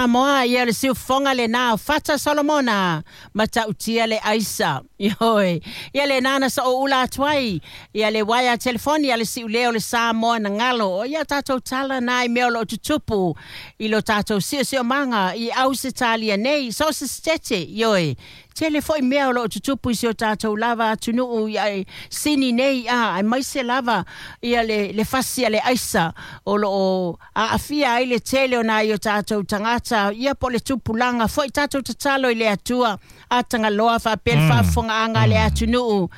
Samoa, ia o le siufofoga lenā o Fata Solomona, matautia le aisa. Ioe. Ia lenā na soouula atu ai, ia le uaea telefoni a le siuleo o le Samoa na galo. O ia tatou tala na i mea o loo tutupu i lo tatou siosiomaga i Ausetalia nei, so o se setete, ioe. Tele foi mea o loo tutupu i si o tatou lava atunuu i Sini nei, a aemaise lava ia le fasi a le aisa o loo aafia ai le tele o nai o tatou tagata, ia po o le tupulaga foi. Tatou tatalo i le Atua a Tagaloa faapea le faafofogaaga a le atunuu,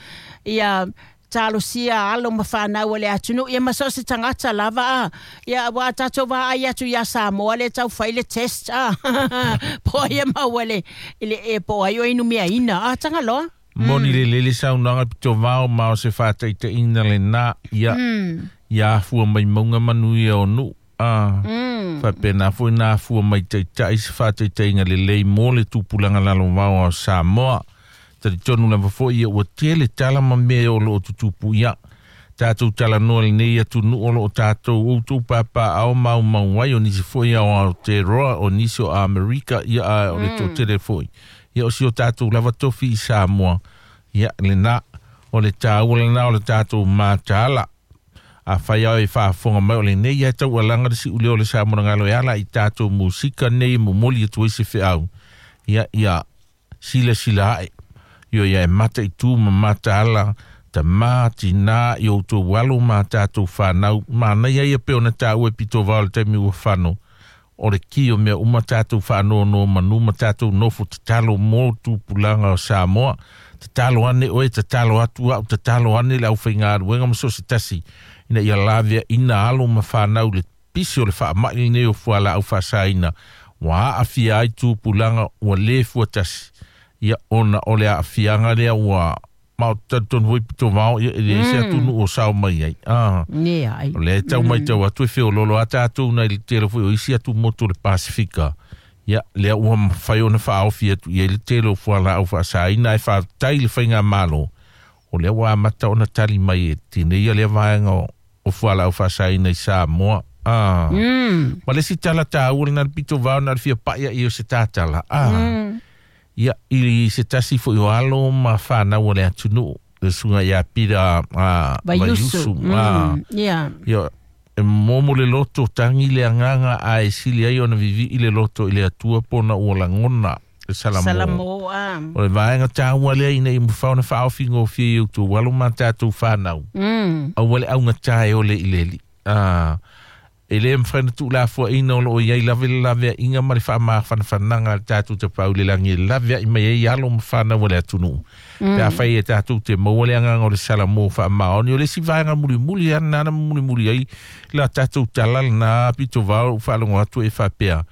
ia talosia alo ma fanau o le atunuu, ia ma so o se tagata lava a. Ia aua a tatou vaai atu ia Samoa le tau fai le test a po ai e maua le i le po o ai o inumiaina a Tagaloa. Moni lelei le saunoaga pitovao ma o se faataitaiga lenā ia ia afua mai mauga manuia o nuu a faapena foi na afua mai taitai se faataitaiga lelei mo le tupulaga lalovao o Samoa. Talitonu lava foi ia ua tele tala ma mea o loo tutupu ia tatou talanoa lenei atunuu o loo tatou outou papaao maumau ai o nisi foi ao Aotearoa o nisi o Amerika ia a o le toatele foi ia o si o tatou lava tofi i Samoa ia lenā o le taua lenā o le tatou mataala. Afai ao e faafofoga mai o lenei ae taualaga le siuleo o le Samoa na galo e ala i tatou musika nei e momoli atu ai se feau ia ia silasila ae io ia e mataitu ma mataala tamā tinā i outou alo ma tatou whānau manaia ia pe ona tāua e pito vao le taimi ua fano o le ki o mea uma tatou whaanono manu ma tatou nofo tatalo mō tupulaga o Samoa. Tatalo ane oe, tatalo atu au, tatalo ane le au whaingaruenga ma so se tasi ina ia lavea ina alo ma whanau le pisi o le whaamai lenei o fuala au whaasaina ua aafia ai tupulaga ua lē fuatasi ia ona o le aafiaga lea ua ma o talitonu foi pito vao ia e leai se atunuu o sao mai ai a Ne ai. O lea e tau matau atu e feololo a tatou nai le tele foi o isi atumotu o le Pasifika ia lea ua mafai ona faaofi atu i ai le tele o fualaau faasaina ae faafetai le faigamalo o lea ua amata ona tali mai e tineia lea vaega o fualaau faasaina i Samoa. A ma le isi tala taua lena le pito vao na le fia pai ai o se tatala a ia i se tasi foi o alo ma whanau o le atunuu le susuga ia Pira a Vaiusu. Vaiusu a ia e momo le loto tangi le agaga a e sili ai ona vivii le loto i le Atua pona ua lagona le salamo. Salamo a. O le vaega taua lea ina ia mafai ona faaofigofie i outou alo ma tatou whanau. Aua le augatā e ole i le alii. E lē mafai ona tuulafoaina o loo iai lava le laveaiga ma le faamafanafanaga a le tatou tapau i le lagi e laveai mai ai alo ma fanau a le atunuu pe afai e tatou te maua le agaga o le salamo faamaoni o le isi vaega mulimuli ana ana mulimuli ai la tatou tala lenā pito vao ou faalogo atu e faapea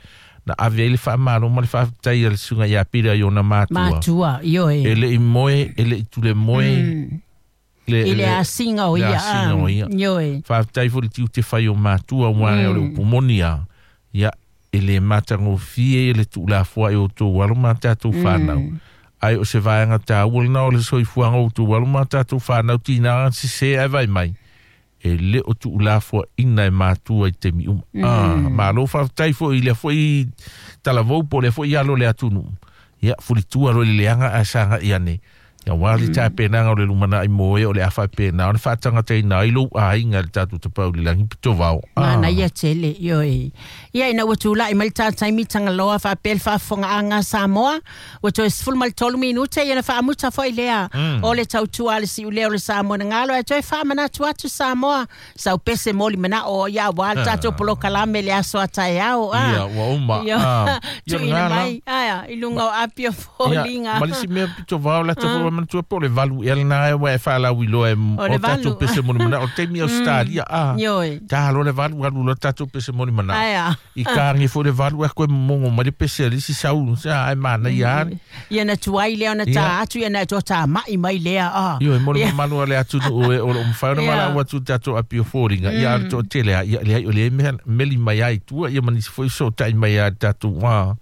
na ave ai le faamalo ma le faafetai a le susuga ia Pira i ona matua Matua, ioe. E le'i moe e le'i tule moe le, I le asiga o le ia. Asiga o ia. Ioe. Faafetai foi le tiute fai o matua ua o le upu moni a ia e lē matagofie le tuulafoa'i o outou alo ma tatou fanau ai o se vaega taua lenā o le soifuaga o outou alo ma tatou fanau tinaga sesē ae vai mai e lē o tuulafoaʻina e matua i taimi uma malo faafetai foi i lea foi talavou po o lea foi alo o le atunuu ia fulitua loa i le leaga ae sagaʻi ane ia uā le tapenaga o le lumanai mo e o le a faapena ona faatagataina ai lou aiga i le tatou tapau i le lagi pito vao. Manaia tele, ioe. Ia ina ua tulai mai le tā taimi Tagaloa faapea le faafofogaaga a Samoa, ua toe 13 minute ia na faamuta foi lea o le tautua a le siuleo o le Samoa na galo ae toe faamanatu atu Samoa sau pese moli manao ia aua le tatou polokalame le aso a taeao a. Ia ua uma. Ia, Ia tuuina lena la. Mai aia i luga o api o Ia, foliga. ma le isi mea pito vao la tatou foi manatua po o le 8 ea lenā ua e faalauiloa e O le o tatou 8. pese moli manao o le taimi Australia a tā loa le 8 alu loa tatou pese moli manao i kāgi foi le 8 e koe momogo mai le pese a le isi sau sa ai manaia ale. Ia na tuai lea ona tā atu ia na to tā mai mai lea a. Ioe mo le mamalu a le atunuu e o loo mafai ona valaau atu i le tatou api o foliga ia a le toatele a ia leai o lea mea meli mai ai i tua ia ma nisi foi fesootai mai a i le tatou a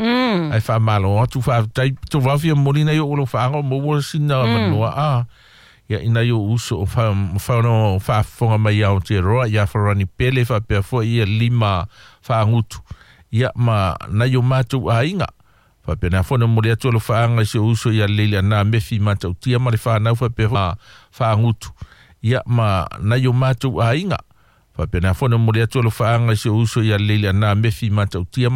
ae faamalo atu faafetai pito vao fia momoli nai o'u lou faaga o maua sina avanoa a ia ina i o'u uso o mafai ona faafofoga mai ia Aotearoa ia Farani Pele faapea foi ia lima faagutu Ia ma nai o matou aiga. Faapena foi ona momoli atu alofaaga i si ou uso ia Leiliana Mefi Matautia ma le fanau faapea faagutu. Ia ma nai o matou aiga. Faapena foi ona momoli atu alofaaga i si ou uso ia Leiliana Mefi Matautia.